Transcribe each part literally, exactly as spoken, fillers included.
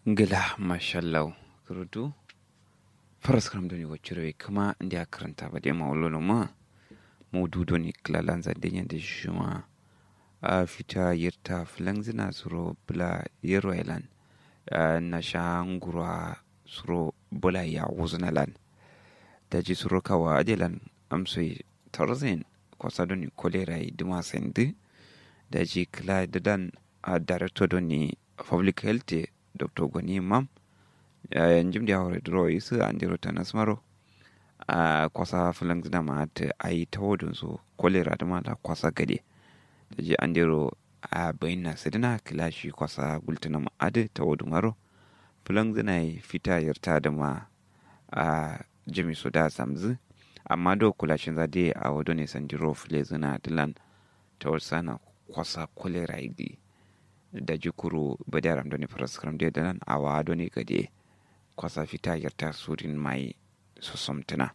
Ngla mashallahu. Kurutu. Faras kram doni waciro ye kma ndia karanta ba de ma wolo ma. Maudu doni klalanza de nyande shima. A fita yirta flangzina suro bla yero elan. Na sha ngurwa suro bla ya wuzuna lan. Daji suro kawa adelan amsoi tarzin kwasa doni kolera yi duma sendi. Daji kla dadan a director doni public health doctor goni mam. Njim dia hore duro isu andiro tanas maro. A kwasa flangzina ma at ayi tawodun so kolera duma la kwasa gade. Daji andiro a bayin na sidina kla shi kwasa gultuna ma adi tawodu maro. Flangzina yi fita yirta duma a jami so da samzu. Amma do kula shinza de a wado ne sandiro flezina dilan tawar sana kwasa kolera yi di. Daji kuru badi aram doni faras kram de dilan a wa doni gade kwasa fita yirta surin mai sosomtuna.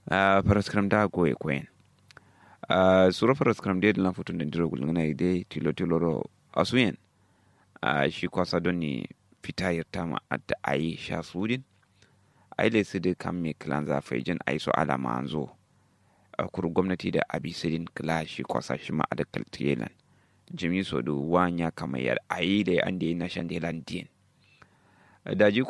Faras kram da goye koyen. Suro faras kram de dilan futun diro gulgana yi de tilo tilo ro asuyen. Shi kwasa doni fita yirta ma adda ayi sha sudin. Ayi le sidi kam me klanza faijin ayi so alama anzo. Kuru gwamnati da abi sidin kla shi kwasa shi ma adda kaltiyelan. Jimi so du wanya kama yar ayi da ande na shandelan din. Daji kula